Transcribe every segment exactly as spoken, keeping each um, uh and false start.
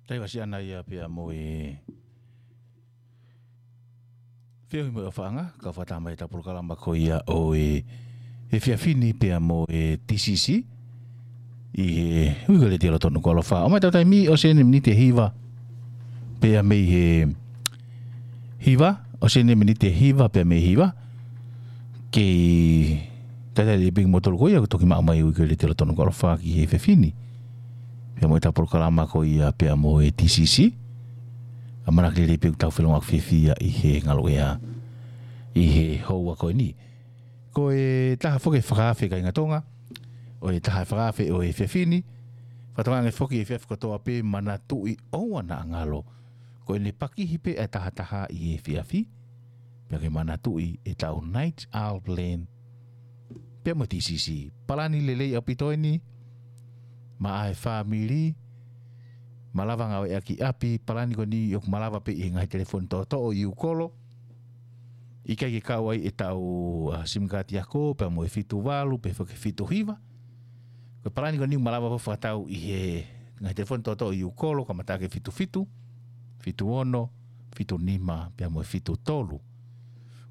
Taimi ʻa Siana ia pea mo e feohi mo e ʻofaʻanga, ka fata mai ʻetau polokalama ko ia ʻo e, e efiafi ni pea mo e T C C ʻi he uike letiō tonu ko alofa. ʻOmai ʻetau taimi ʻosi eni miniti ʻe hiva pea mei he hiva, ʻosi eni miniti ʻe hiva pea mei he hiva. Kei talitali pē kimoutolu ko ia ʻoku toki maʻu mai uike letiō tonu ko alofa ki he efiafi ni pea mo ʻetau polokalama ko ia pea mo e T C C. ʻAmanaki lelei pē ʻoku tau felongoaki fiefia ʻi he ngaluʻea ʻi he houa ko eni. Ko e taha foki e fakaafe kāinga Tonga, ʻo e taha e fakaafe ʻo e efiafi ni, fakatokanga ange foki he efiafi kotoa pē manatuʻi ʻoua naʻa ngalo. Ko ʻene pakihi pē ʻa e taha taha ʻi he efiafi, pea ke manatuʻi ʻetau Night Owl Plan pea mo e T C C. Palani lelei ʻaupito eni maʻa e fāmili, malava ngāueʻaki ʻapi, palani ko eni ʻoku malava pē ʻi he ngaahi telefoni toʻotoʻo ʻi ʻū kolo. ʻIkai ke kau ai ʻetau, ʻa, sim kaati ako, pea mo e fitu valu, pe foki fitu hiva. Ko e palani ko eni ʻoku malava pē ʻo fakatau ʻi he ngaahi telefoni toʻotoʻo ʻi ʻū kolo, kamata ʻaki e fitu fitu, fitu ono, fitu nima, pea mo e fitu tolu.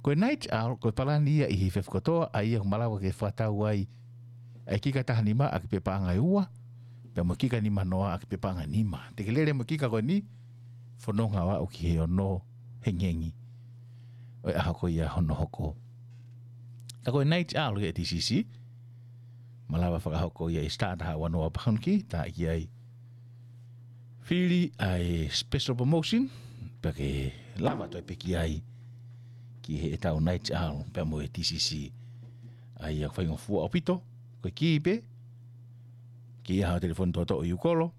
Ko e Night Owl, ko e palani ia ʻi he efiafi kotoa, ʻa ia ʻoku malava ke fakatau ai ʻa e kika taha nima ʻaki pē paʻanga ʻe ua, pea mo e kika nima noa ʻaki pē paʻanga ʻe nima. Te ke lele mo e kika ko eni, fononga ʻo aʻu ki he ono hengihengi ʻo e ʻaho ko ia hono hoko. Ka ko e Night Owl ʻi he T C C, malava fakahoko ia ʻi he star taha ua noa pound key, tā ʻi ai fili ʻa e special promotion, pea ke lava toe pē ki ai ki heʻetau Night Owl pea mo e T C C. ʻA ia ʻoku faingofua ʻaupito, ko e kī pē, kī ʻa hoʻo telefoni toʻotoʻo ʻi ʻū kolo,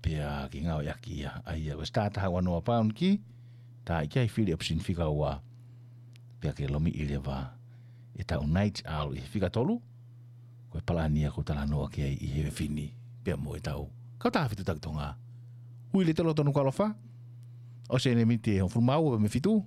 pea ke ngāueʻaki ia. ʻA ia ko e star taha ua noa pound key, tā ʻi ai fili option fika ua, pea ke lomiʻi leva ʻetau Night Owl ʻi he fika tolu, ko e palani ia ʻoku ou talanoa ki ai ʻi he efiafi ni pea mo ʻetau kautaha fetuʻutaki Tonga. Uike letiō tonu ko alofa, ʻosi eni miniti ʻe hongofulu mā ua pea mei he fitu,